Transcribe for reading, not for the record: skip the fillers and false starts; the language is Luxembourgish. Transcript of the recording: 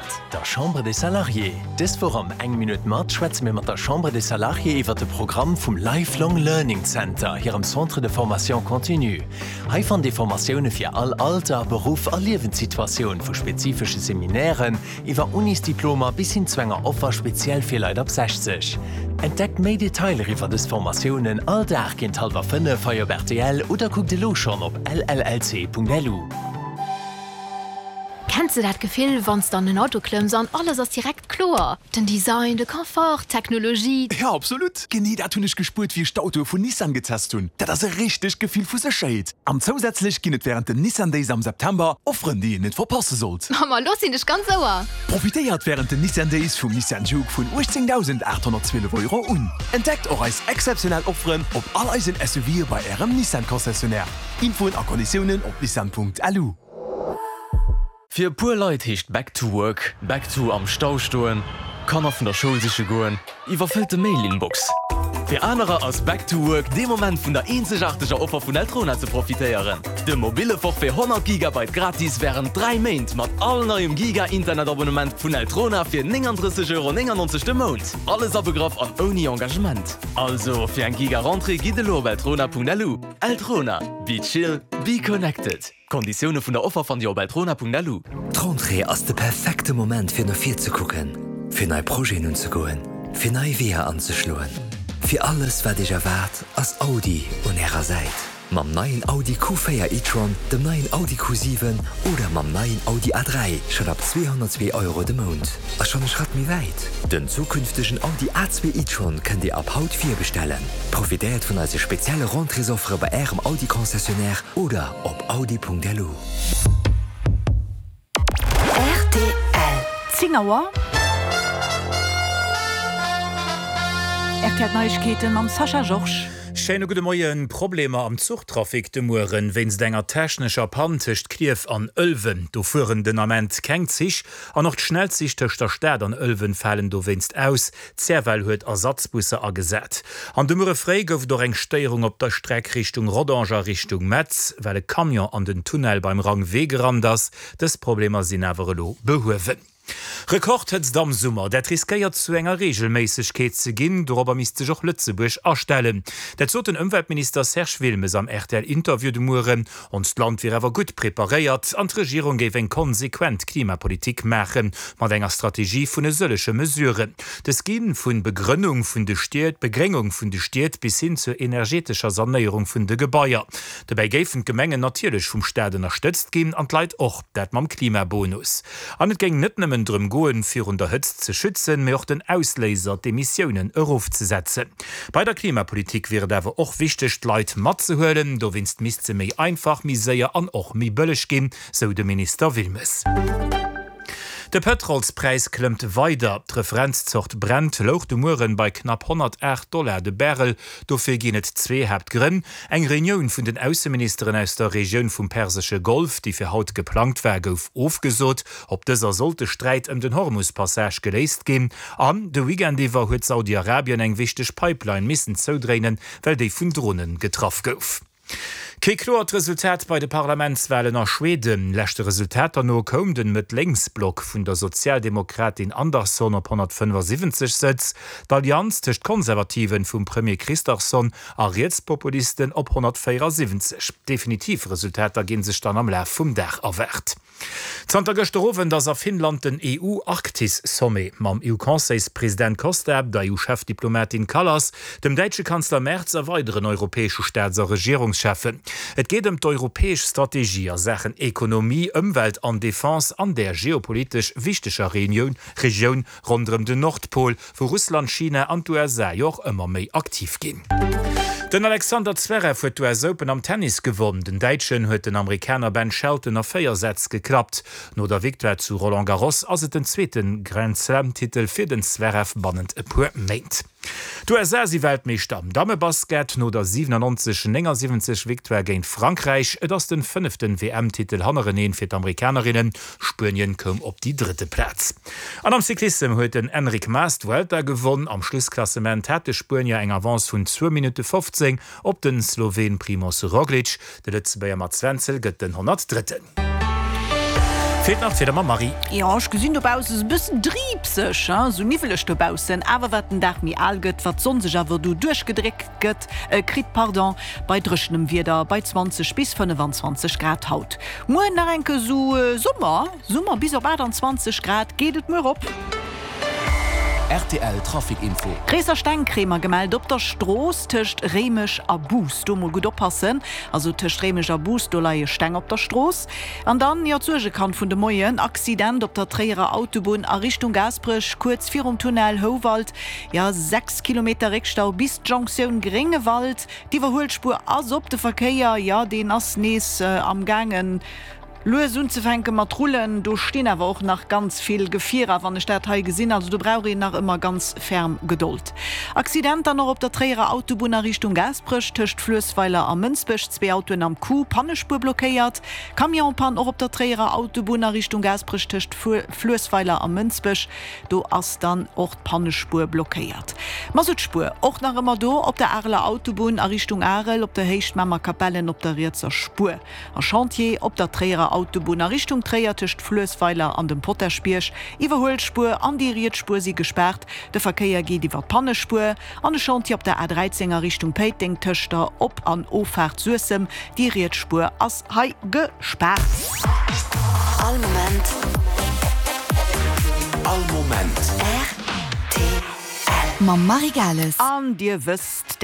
mat. Der Chambre des Salariés. Dës Woch am Eng Minutt mat schwätze mir mat der Chambre des Salariés iwwer de Programm vum Lifelong Learning Center, hirem Centre de formation continue. Hei fannt Dir Formatioune fir all Alter, Beruff a Liewenssituatioun, vu spezifesche Seminairen iwwer Unisdiplomer bis hin zu enger Offer speziell fir Leit ab 60. Entdeckt méi Detailer iwwer dës Formatiounen all Dag géint hallwer 5 hei op rtl oder kuckt elo schonn op llc.lu. Kenns de dat Gefill, wann s de an den Auto klëmms an alles ass direkt kloer? Den Design, de Confort, d'Technologie. Jo, absolut! Genee dat hunn ech gespuert, wéi ech d'Autoe vun Nissan getest hunn. Dat ass e richtegt Gefill vu Sécherheet. An zousätzlech ginn et wärend den Nissan Days am September Offeren, déi een net verpasse sollt. Ma lo sinn ech ganz Ouer! Profitéiert wärend den Nissan Days vum Nissan Juke vun 18.812 Euro un. Entdeckt och eis exzeptionell Offeren op all eisen SUVe bei Ärem Nissan Concessionnaire. Infoen a Konditiounen op nissan.lu. Fir e puer Leit heescht Back to Work, Back to am Stau stoen, Kanner vun der Schoul siche goen, iwwerfëllte Mail-Inbox. Fir anerer ass Back to Work dee Moment vun der eenzegaarteger Offer vun Eltrona ze profitéieren, dem mobille Forfait 100 Gigabyte gratis wärend 3 Méint mat all neiem Giga-Internet-Abonnement vun Eltrona fir 39,99 Euro de Mount. Alles abegraff an ouni Engagement. Also fir eng Giga-Rentrée gitt elo op eltrona.lu. Eltrona, be chill, be connected. D'Konditioune vun der Offer fannt Dir op eltrona.lu. D'Rentrée ass de perfekte Moment fir no vir ze kucken, fir nei Projeten unzegoen, fir nei Weeër anzeschloen. Fir alles wat Iech erwaart ass Audi un Ärer Säit. Mam neien Audi Q4 e-tron, dem neien Audi Q7 oder mam neien Audi A3 schonn ab 202 Euro de Mount. A schonn e Schratt méi wäit, Den zukünftegen Audi A2 e-tron kënnt Dir ab haut virbestellen. Profitéiert vun eise spezielle Rentréesoffere bei Ärem Audi Concessionnaire oder op audi.lu. Rtl. 10 Auer. Rtl Neiegkeeten mam Sascha Georges. Schéine gudde Moien. Problemer am Zuchtrafic de Mueren wéinst enger technescher Pann tëscht Klierf an Ëlwen. Do fueren den Ament keng Zich an och d'Schnellzich tëscht der Stad an Ëlwen falen dowéinst aus. D'CFL huet Ersatzbusser agesat. An de Muere fréi gouf et och eng Stéierung op der Streck Richtung Rodange a Richtung Metz, well e Camion an den Tunnel beim Rangwee gerannt ass. Dës Problemer sinn awer elo behuewen. Rekordhëtzt am Summer, dat riskéiert zu enger Reegelméissegkeet ze ginn. Dorobber misst sech och Lëtzebuerg astellen. Dat sot den Ëmweltminister Serge Wilmes am RTL-Interview de Mueren. Onst Land wier awer gutt preparéiert an d'Regierung géif eng konsequent Klimapolitik maache mat enger Strategie vun e sëllege Mesuren. Dës gi vu Begrënnung vun de Stied, Begréngung vun de Stied bis hin zur energetescher Sanéierung vun de Gebaier. Dobäi géifen d'Gemengen natierlech vum Staat ënnerstëtzt ginn an d'Leit och, dat mam Klimabonus. An et géing net nëmmen drëm goen, virun der Hëtzt ze schützen, mee och den Ausléiser, d'Emissiounen, erofzesetzen. Bei der Klimapolitik wier et awer och wichteg, d'Leit matzehuelen. Dowéinst misst se méi einfach, méi séier an och méi bëlleg ginn, sou de Minister Wilmes. De Pëtrolspräis klëmmt weider. D'Referenzzort Brent louch de Mueren bei knapp 108 Dollar de Barrel. Dofir ginn et zwee Haaptgrënn, Eng Reunioun vun den Ausseministeren aus der Regioun vum Persesche Golf, déi fir haut geplangt war, gouf ofgesot. Op dëser sollt de Sträit ëm den Hormus-Passage geléist ginn. An de Weekend iwwer huet Saudi-Arabien eng wichteg Pipeline missen zoudréinen, well déi vun Drone getraff gouf. Kee kloert Resultat bei de Parlamentswalen a Schweden. Leschte Resultater no koum den Mëtt-Lénks-Block vun der Sozialdemokratin Andersson op 175 Sëtz, d'Allianz tëscht Konservativen vum Premier Kristersson a Rietspopulisten op 174. Definitiv Resultater ginn sech dann am Laf vum Dag erwaart. Zanter gëschter Owend ass a Finnland den EU-Arktis-Sommet. Mam EU-Conseilspresident Costa, der EU-Chefdiplomatin Kallas, dem däitsche Kanzler Merz a weideren europäesche Staats a Regierungscheffen. Et geet ëm d'europäesch Strategie a Saachen Ekonomie, Ëmwelt an Defense an där geopolitesch wichteger Regioun Ronderëm den Nordpol, wou Russland, China an d'USA jo och ëmmer méi aktiv ginn. Den Alexander Zverev huet d'US Open am Tennis gewonn. Den Däitschen huet den Amerikaner Ben Shelton a 4 Sätz geklappt. No der Victoire zu Roland Garros ass et den zweete Grand-Slam-Titel fir den Zverev bannent e puer Méint. D'USA si Weltmeeschter am Dammebasket no der 97, 79 Victoire géint Frankräich. Et ass den fënneften WM-Titel hannereneen fir d'Amerikanerinnen. Spuenien koum op déi drëtte Plaz. An am Cyclissem huet den Enric Mas d'Vuelta gewonn. Am Schlussklassement hat de Spuenier eng Avance vun zwou Minutte 15 op den Sloween Primoz Roglic. De Lëtzebuerger Mats Wenzel gëtt den 103. Feelt nach d'Wieder mam Marie. Jo, ech gesinn dobausse sou e bëssen driibseg, sou niwweleg dobaussen. Awer wat den Dag méi al gëtt, wat d'Sonn sech awer do duerchgedréckt gëtt, kritt, pardon, bei dréchenem Wieder bei 20 bis 25 Grad haut. Muer nach enke sou Summer, Summer bis op 28 Grad geet et muer op. Rtl Trafic Info. Gréisser Steng kréie mer gemellt op der Strooss tëscht Réimech a Bous. Do mol gutt oppassen, also tëscht Réimech a Bous, do leie Steng op der Strooss. An dann, jo, d'Suergekand vun de Moien, Accident op der Tréierer Autobunn a Richtung Gaasperech, kuerz virum Tunnel Houwald, jo, 6 Kilometer Réckstau bis d'Jonctioun Gréngewald. D'Iwwerhuelspuer ass op, de Verkéier, jo, deen ass nees am gaangen Lues unzefänke mat rullen. Do stinn awer och nach ganz vill Gefierer, wann ech dat hei gesinn. Also do brauch een nach ëmmer ganz ferm Gedold. Accident dann och op der Tréierer Autobunn a Richtung Gaasperech, tëscht Fluessweiler a Mënsbech. Zwee Autoen am Coup, Pannespuer blockéiert. Camionspann och op der Tréierer Autobunn a Richtung Gaasperech, tëscht Fluessweiler a Mënsbech. Do ass dann och d'Pannespuer blockéiert. Masuttspuer och nach ëmmer do op der Areler Autobunn a Richtung Arel, op der Héicht Mamer-Kapellen op der rietser Spuer. A Chantier op der Tréierer Autobunn a Richtung Tréier tëscht Fluessweiler an dem Potaschbierg. Iwwerhuelspuer an déi riets Spuer si gespaart, de Verkéier geet iwwer d'Pannespuer. An e Chantier op der A 13 a Richtung Péiteng tëscht der Op an Offaart Suessem, déi riets Spuer ass hei gespaart. All Moment. All Moment. Rtl. Mam Marie Gales. An Dir wësst.